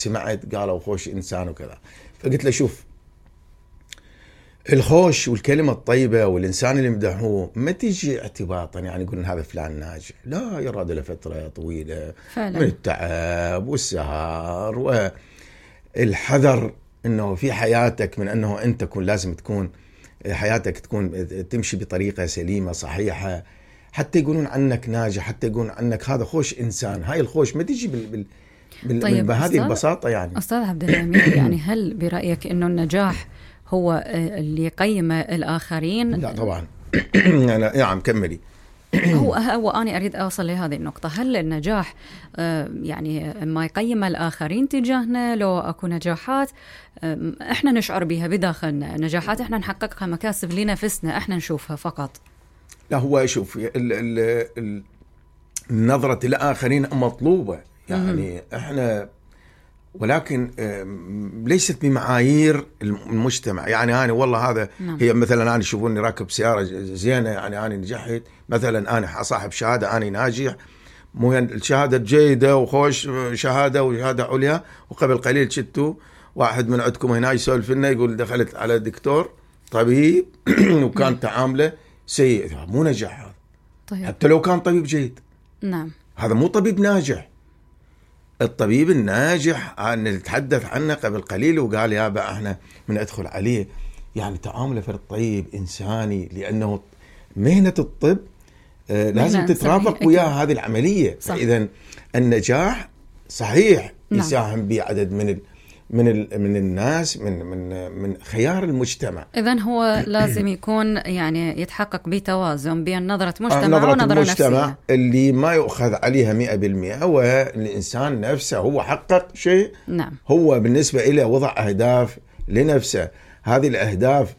سمعت قالوا خوش إنسان وكذا. فقلت له شوف، الخوش والكلمة الطيبة والإنسان اللي يمدحوه ما تيجي اعتباطا، يعني يقولون هذا فلان ناجح، لا، يراد له فترة طويلة فعلا من التعب والسهر والحذر انه في حياتك من انه انت لازم تكون حياتك تمشي بطريقة سليمة صحيحة حتى يقولون عنك ناجح، حتى يقولون عنك هذا خوش إنسان. هاي الخوش ما تيجي طيب بهذه البساطة. يعني أستاذ عبد الأمير، يعني هل برأيك إنه النجاح هو اللي يقيم الآخرين؟ لا طبعا. نعم كملي. هو أنا أريد أوصل لهذه النقطة. هل النجاح يعني ما يقيم الآخرين تجاهنا؟ لو أكو نجاحات إحنا نشعر بها بداخلنا، نجاحات إحنا نحققها، مكاسب لنفسنا إحنا نشوفها فقط. لا، هو شوف، النظرة الآخرين مطلوبة، يعني إحنا، ولكن ليست بمعايير المجتمع. يعني أنا والله هذا هي مثلا أنا يشوفوني راكب سيارة زينة، يعني أنا نجحت مثلا، أنا صاحب شهادة، أنا ناجح، مو الشهادة جيدة وخوش شهادة وشهادة عليا، وقبل قليل شتوا واحد من عندكم هنا يسولف لنا يقول دخلت على دكتور طبيب وكان تعامله سيء. مو نجاح هذا. طيب. حتى لو كان طبيب جيد. نعم. هذا مو طبيب ناجح. الطبيب الناجح اللي نتحدث عنه قبل قليل وقال يابا احنا من ادخل عليه، يعني تعامله فرد طيب إنساني، لأنه مهنة الطب لازم تترافق وياه هذه العملية. فإذا النجاح صحيح يساهم به عدد من الناس من خيار المجتمع. إذن هو لازم يكون يعني يتحقق بتوازن بين نظرة مجتمع ونظرة نفسية اللي ما يؤخذ عليها 100%. هو الإنسان نفسه هو حقق شيء. نعم. هو بالنسبة إليه وضع أهداف لنفسه، هذه الأهداف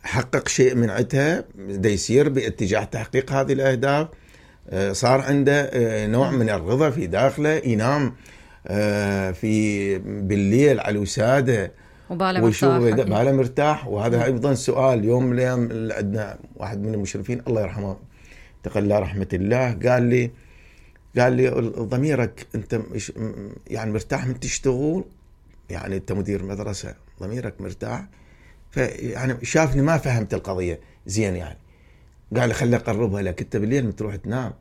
حقق شيء من عدها، دا يسير باتجاه تحقيق هذه الأهداف، صار عنده نوع من الرضا في داخله، ينام في بالليل على الوسادة وباله مرتاح. وهذا أيضا سؤال. يوم من الأيام عندنا واحد من المشرفين الله يرحمه تقلى رحمة الله قال لي ضميرك أنت يعني مرتاح من تشتغل، يعني أنت مدير مدرسة ضميرك مرتاح؟ فيعني شافني ما فهمت القضية زين، يعني قال لي خلي أقربها لك، أنت بالليل تروح تنام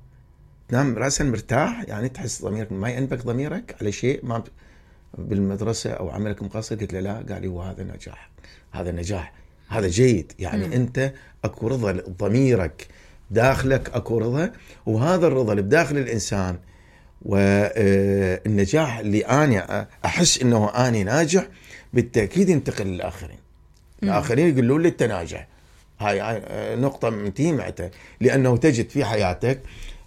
رأسا مرتاح، يعني تحس ضميرك ما ينبك ضميرك على شيء ما بالمدرسة أو عملك مقصر؟ قلت له لا. قال لي وهذا نجاح، هذا نجاح، هذا جيد. يعني أنت أكو رضا ضميرك داخلك، أكو رضا، وهذا الرضا اللي بداخل الإنسان والنجاح اللي أنا أحس إنه أنا ناجح بالتأكيد ينتقل للآخرين. الآخرين يقولون لي أنت ناجح. هاي نقطة منتهي معتها، لأنه تجد في حياتك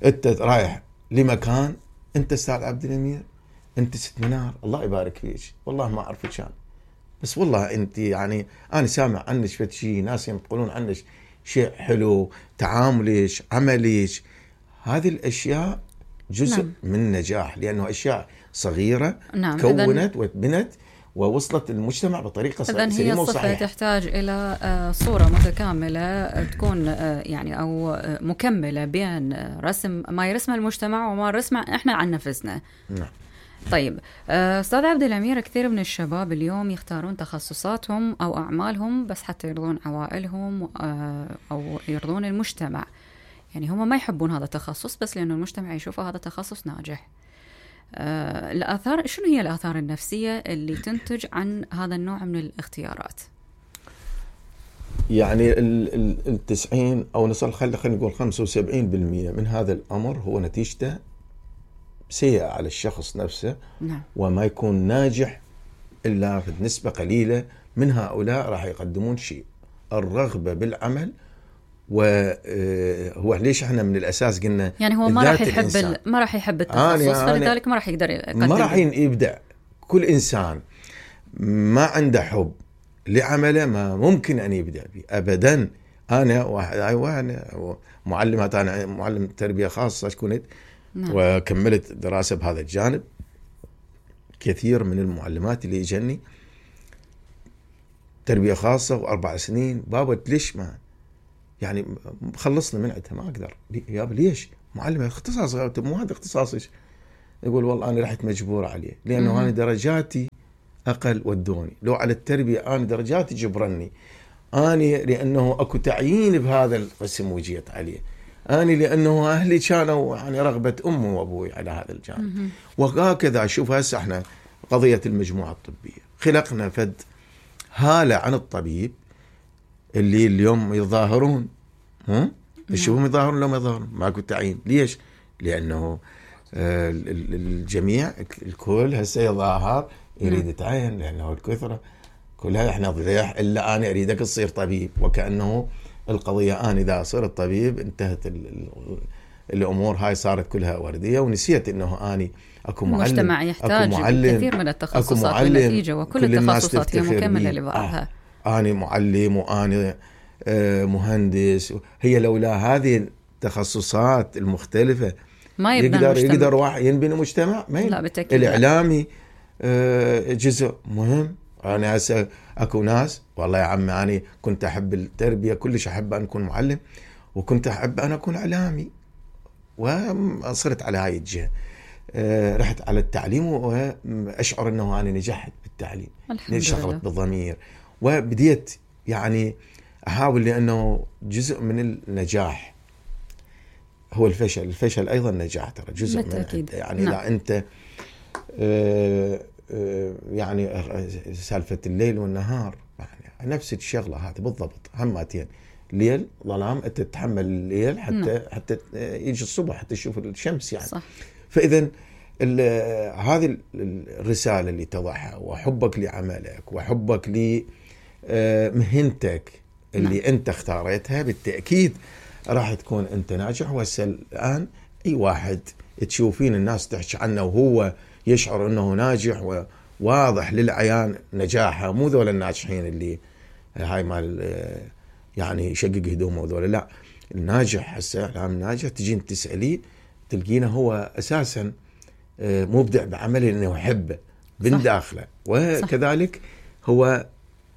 أنت رايح لمكان، أنت أستاذ عبد الأمير، أنت ست منار، الله يبارك فيك، والله ما أعرفك شان، بس والله أنت يعني أنا سامع عنك شيء، ناس يقولون عنك شيء حلو، تعاملك، عملك، هذه الأشياء جزء من النجاح، لأنه أشياء صغيرة كونت واتبنت ووصلت المجتمع بطريقة سليمة وصحيحة. هي الصفة تحتاج إلى صورة متكاملة تكون يعني أو مكملة بين رسم ما يرسمه المجتمع وما يرسمه إحنا عن نفسنا. نعم. طيب أستاذ عبد الأمير، كثير من الشباب اليوم يختارون تخصصاتهم أو أعمالهم بس حتى يرضون عوائلهم أو يرضون المجتمع، يعني هم ما يحبون هذا التخصص بس لأنه المجتمع يشوفه هذا تخصص ناجح. الآثار، شنو هي الآثار النفسية اللي تنتج عن هذا النوع من الاختيارات؟ يعني 90 أو نصل خلينا نقول 75% من هذا الأمر هو نتيجته سيئة على الشخص نفسه. نعم. وما يكون ناجح إلا في نسبة قليلة من هؤلاء راح يقدمون شيء، الرغبة بالعمل. وهو ليش احنا من الأساس قلنا يعني هو ما راح يحب التخصص، فلذلك ما راح يقدر يقدم، ما راح يبدع. كل إنسان ما عنده حب لعمله ما ممكن أن يبدع به أبدا. أنا معلمات، أنا معلم تربية خاصة كنت. نعم. وكملت دراسة بهذا الجانب. كثير من المعلمات اللي يجني تربية خاصة و4 سنين، بابا ليش ما يعني خلصنا من عندها، ما أقدر. يابا ليش معلمة اختصاص، مو هذا اختصاصك. يقول والله أنا رحت مجبور عليه لأنه أنا درجاتي أقل ودوني، لو على التربية أنا درجاتي جبرني، أنا لأنه أكو تعيين بهذا القسم وجيت عليه، أنا لأنه أهلي كانوا يعني رغبة أمي وأبوي على هذا الجانب. وهكذا شوف هسه احنا قضية المجموعة الطبية خلقنا فد هالة عن الطبيب اللي اليوم يظاهرون، تشوفهم يظاهرون لو ما يظاهرون ماكو تعيين. ليش؟ لأنه الجميع الكل هسه يظاهر يريد يتعين، لأنه الكثرة كلها احنا ضياح إلا أنا أريدك تصير طبيب، وكأنه القضية أنا إذا صرت طبيب انتهت الأمور هاي صارت كلها وردية، ونسيت أنه أنا أكو معلم، المجتمع يحتاج كثير من التخصصات بالنتيجة، وكل التخصصات هي مكملة لبعضها. أنا معلم وأنا مهندس، هي لولا هذه التخصصات المختلفة ما يقدر واحد ينبني مجتمع؟ لا بالتأكيد. الإعلامي جزء مهم. أنا هسه أكو ناس والله يا عمي أنا كنت أحب التربية كلش، أحب أن أكون معلم، وكنت أحب أن أكون إعلامي، وصرت على هاي الجهة. رحت على التعليم وأشعر أنه أنا نجحت بالتعليم، شغلت بالضمير، وبديت يعني أحاول، لأنه جزء من النجاح هو الفشل أيضا نجاح، ترى جزء من يعني نعم. إذا أنت يعني سالفة الليل والنهار يعني نفس الشغلة هذه بالضبط، هماتين ليل ظلام أنت تتحمل الليل حتى يجي الصبح حتى تشوف الشمس يعني صح. فإذا هذه الرسالة اللي تضعها وحبك لعملك وحبك لمهنتك اللي أنت اختارتها بالتأكيد راح تكون أنت ناجح. الآن أي واحد تشوفين الناس تحكي عنه وهو يشعر أنه ناجح وواضح للعيان نجاحه، مو ذول الناجحين اللي هاي مال يعني يشقق هدومه وذول، لا الناجح هسه الآن ناجح تجين تسأليه تلقينه هو أساسا مبدع بعمله لأنه يحبه من داخله، وكذلك هو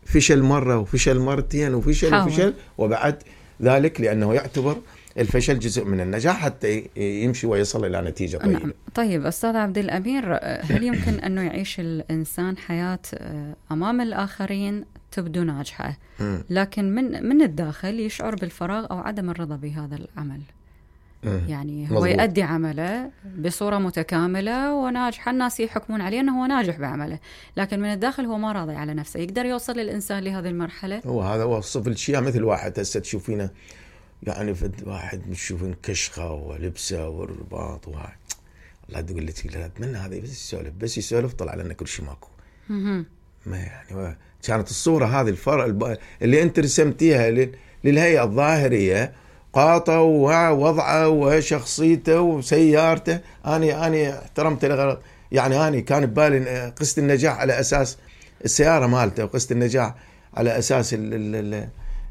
فشل مرة وفشل مرتين وفشل وبعد ذلك لأنه يعتبر الفشل جزء من النجاح حتى يمشي ويصل إلى نتيجة طيبة. نعم. طيب أستاذ عبد الأمير، هل يمكن أنه يعيش الإنسان حياة أمام الآخرين تبدو ناجحة، لكن من الداخل يشعر بالفراغ أو عدم الرضا بهذا العمل؟ يعني هو يؤدي عمله بصورة متكاملة وناجح، الناس يحكمون عليه أنه هو ناجح بعمله، لكن من الداخل هو ما راضي على نفسه. يقدر يوصل الإنسان لهذه المرحلة؟ هو هذا وصف الشيء، مثل واحد هسه تشوفينه يعني واحد تشوفين كشخة ولبسه والرباط وهاي، الله تقول لك لا أتمنى هذا بس يسولف طلع لنا كل شيء ماكو. ما يعني كانت الصورة هذه الفرق اللي أنت رسمتيها للهيئة الظاهرية قاطه ووضعه وشخصيته وسيارته، أنا احترمته لغرض يعني أنا كان ببالي قصة النجاح على أساس السيارة مالته، وقصة النجاح على أساس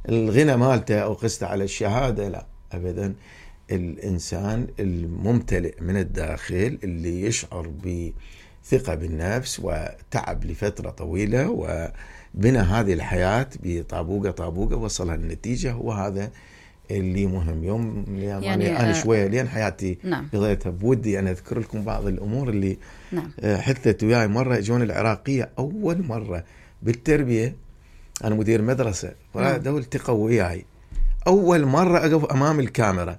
الغنى مالته، أو قصة على الشهادة. لا أبدا، الإنسان الممتلئ من الداخل اللي يشعر بثقة بالنفس وتعب لفترة طويلة وبنى هذه الحياة بطابوقة وصلها النتيجة، هو هذا اللي مهم. يوم يعني أنا شوية لين حياتي قضيتها بودي أنا أذكر لكم بعض الأمور اللي حدثت وياي. مرة جون العراقية أول مرة بالتربية، أنا مدير مدرسة ودول التقوا وياي أول مرة أقف أمام الكاميرا،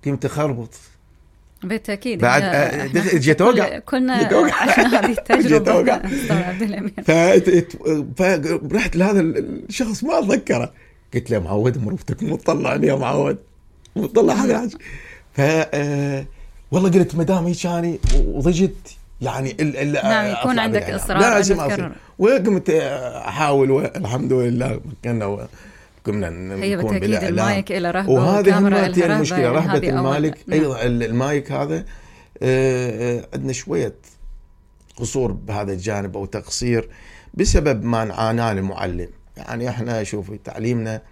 كنت أخربط بالتأكيد بعد جيت أوقع، كنا عشنا هذه التجربة. فرحت لهذا الشخص ما أتذكره، قلت له معود مروفتك مطلعني يا معود مطلع هذا الحاجة. والله قلت مدام هيك وضجت يعني نعم يكون عندك إصرار لازم أصل، وقمت أحاول والحمد لله كنا نكون بالإعلام. المايك إلى رهبة، وهذه هماتي المشكلة رهبة المالك. أيضا المايك هذا عندنا شوية قصور بهذا الجانب أو تقصير بسبب ما نعاناه المعلم. يعني احنا شوفي تعليمنا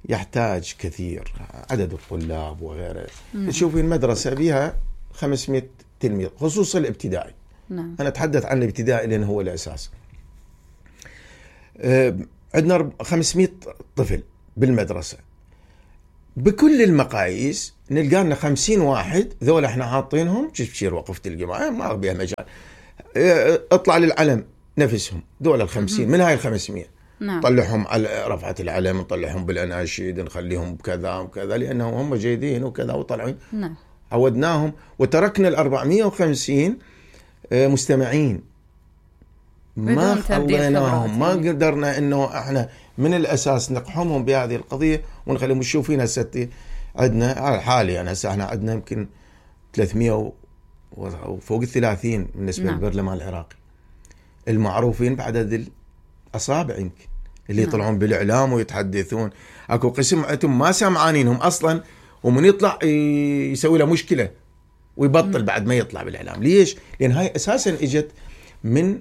يحتاج كثير، عدد الطلاب وغيره. تشوفي المدرسة بها 500 تلميذ خصوصا الابتدائي. أنا أتحدث عن الابتدائي لأنه هو الأساس. عندنا 500 طفل بالمدرسة، بكل المقاييس نلقى لنا 50 واحد ذولا احنا حاطينهم بشير وقفة الجماعة ما بيها مجال. اطلع للعلم نفسهم ذولا ال50 من هاي ال500 نطلعهم على رفعة العلم، نطلعهم بالأناشيد، نخليهم بكذا وكذا لأنهم هم جيدين وكذا وطلعين. عودناهم وتركنا 450 مستمعين ما خليناهم، ما قدرنا انه احنا من الاساس نقحمهم بهذه القضيه ونخليهم يشوفين. هسه عندنا على الحالي يعني هسه احنا عندنا يمكن 300 وفوق 30 بالنسبه للبرلمان العراقي المعروفين بعدد الاصابع يمكن اللي يطلعون بالاعلام ويتحدثون. اكو قسم عندهم ما سامعانينهم اصلا ومن يطلع يسوي له مشكله ويبطل بعد ما يطلع بالاعلام. ليش؟ لان هاي اساسا اجت من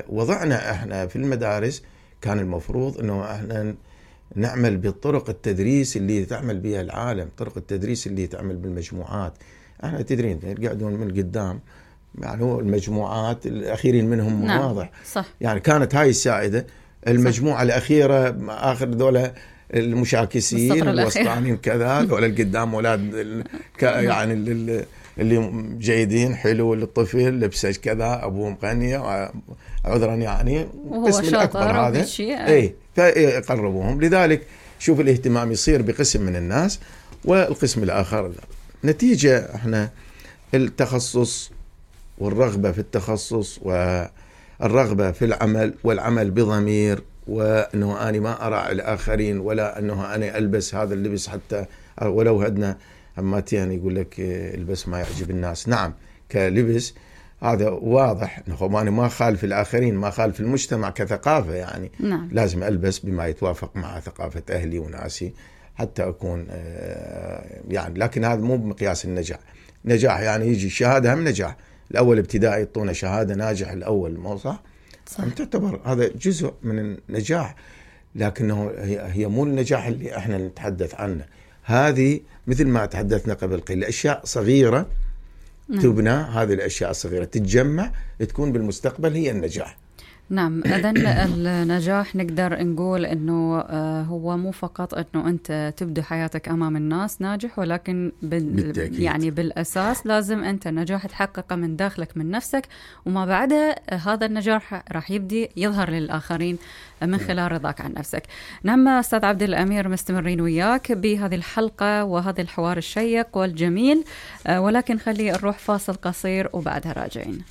وضعنا احنا في المدارس. كان المفروض انه احنا نعمل بالطرق التدريس اللي تعمل بها العالم، طرق التدريس اللي تعمل بالمجموعات. احنا تدرين يقعدون من قدام يعني هو المجموعات الاخيرين منهم واضح صح. يعني كانت هاي السائده المجموعه صح. الاخيره اخر ذولا المشاكسين الوسطانيين كذا ذولا القدام اولاد يعني اللي جيدين حلو للطفل لبسه كذا ابوه مغني عذرا يعني القسم الاكبر هذا اي فيقربوهم. لذلك شوف الاهتمام يصير بقسم من الناس والقسم الاخر لا. نتيجه احنا التخصص والرغبه في التخصص والرغبه في العمل والعمل بضمير، وانه انا ما اراعي الاخرين ولا انه انا البس هذا اللبس حتى ولو هدنا هماتين يقول لك البس ما يعجب الناس. نعم كلبس هذا واضح انه انا ما خالف الاخرين ما خالف المجتمع كثقافه يعني لازم البس بما يتوافق مع ثقافه اهلي وناسي حتى اكون يعني. لكن هذا مو بمقياس النجاح. نجاح يعني يجي شهاده هم نجاح. الاول ابتدائي يعطونا شهاده ناجح الاول مو صح؟ تعتبر هذا جزء من النجاح، لكنه هي مو النجاح اللي احنا نتحدث عنه. هذه مثل ما تحدثنا قبل قليل أشياء صغيرة تبنى، هذه الأشياء الصغيرة تتجمع تكون بالمستقبل هي النجاح. نعم. إذن النجاح نقدر نقول إنه هو مو فقط إنه أنت تبدأ حياتك أمام الناس ناجح، ولكن يعني بالأساس لازم أنت النجاح تحققه من داخلك من نفسك، وما بعدها هذا النجاح راح يبدي يظهر للآخرين من خلال رضاك عن نفسك. نعم أستاذ عبد الأمير مستمرين وياك بهذه الحلقة وهذا الحوار الشيق والجميل، ولكن خلي نروح فاصل قصير وبعدها راجعين.